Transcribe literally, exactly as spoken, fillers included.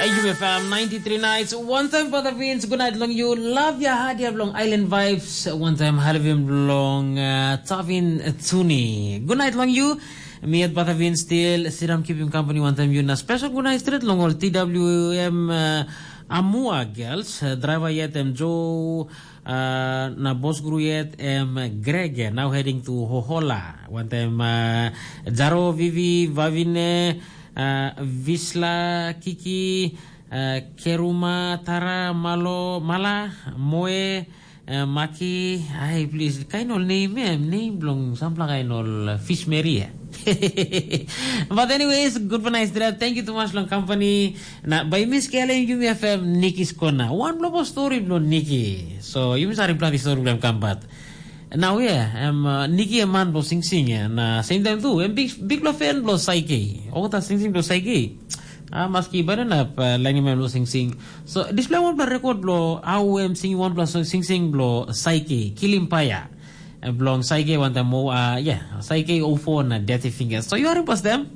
Yumi F M ninety-three nights, one time Brother Vince, good night long you. Love ya hadia long Island Vibes, one time Halvim long uh, Tavin Tuni. Good night long you. Me at Brother Vince still sit down keeping company one time you na special good night straight long all T W M uh, Amua girls, uh, driver yet em Joe uh, na boss guru yet em Greg now heading to Hohola. One time uh, Jaro Vivi Vavine uh, Visla Kiki uh, Keruma Tara Malo Mala Moe uh, Maki. Ai please kain ol name em name bilong sampela kain ol uh, fish mary eh. But anyways, good for nice dinner. Thank you too much long company. Na by Miss Kelly, you may have Nikki's corner. One global story blo Nikki. So you must have planty story blo come but. Now yeah, em uh, Nikki a man blo sing sing ya. Na same time too, em big big blo fan blo Saiki. Oh ta sing sing blo Saiki. Ah, maski baru na uh, lagi man blo sing sing. So display one blo record blo how em sing one blo sing sing blo Saiki, Kilim Paya. Blong Saike wantam mo a ya Saike ofo na dirty fingers. So you are pas them.